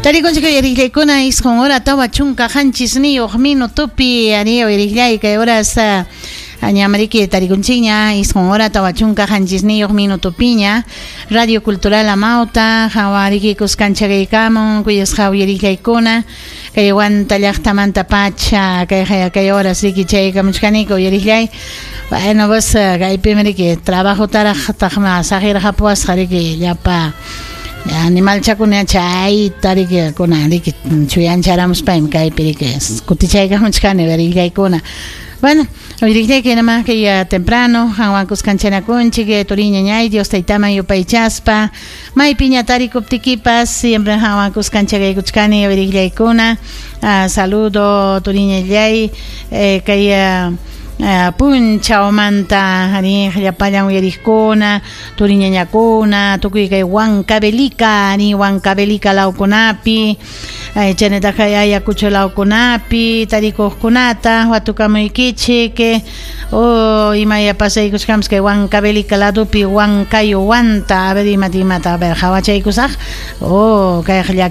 Tarikunchik uyariqllaykuna 9 hora 47 minutopi ari uyariqllay kay horas ñamariki tarikunchikña 9 hora 47 minutopiña Radio Cultural Amauta hawariki kuskanchakaykamun kuyasqa uyariqllaykuna kay Huanta llaqtamanta pacha kay kay horas riki chaykamuchkaniku uyariqllay. Bueno, pues kaypimi riki trabajotaraq taqma saqirqapuwasqa riki llapa animalchakuna chayta riki kuna riki chuyancharamuspaymi kaypi riki kutichaykamuchkani uyariqllaykuna. Bueno, uyariqllayki nima kay temprano qanwan kuskanchanakunchik turiñañay Dios taytaman yupaychaspa maypiña tarikuptikipas siempre qanwan kuskanchakaykuchkani uyariqllaykuna. Saludo turiñallay kay punchawmanta ari llapallan uyariqkuna turiñañakuna tukuy kay Huancavelica ari Huancavelica lawkunapi chaynataq kay Ayacucho lawkunapi tarikuqkunata watukamuykichik imaya pasaykuchkanpas kay Huancavelica ladopi Huancayo Huanta a ver imata imata a ver hawachaykusaq kayqa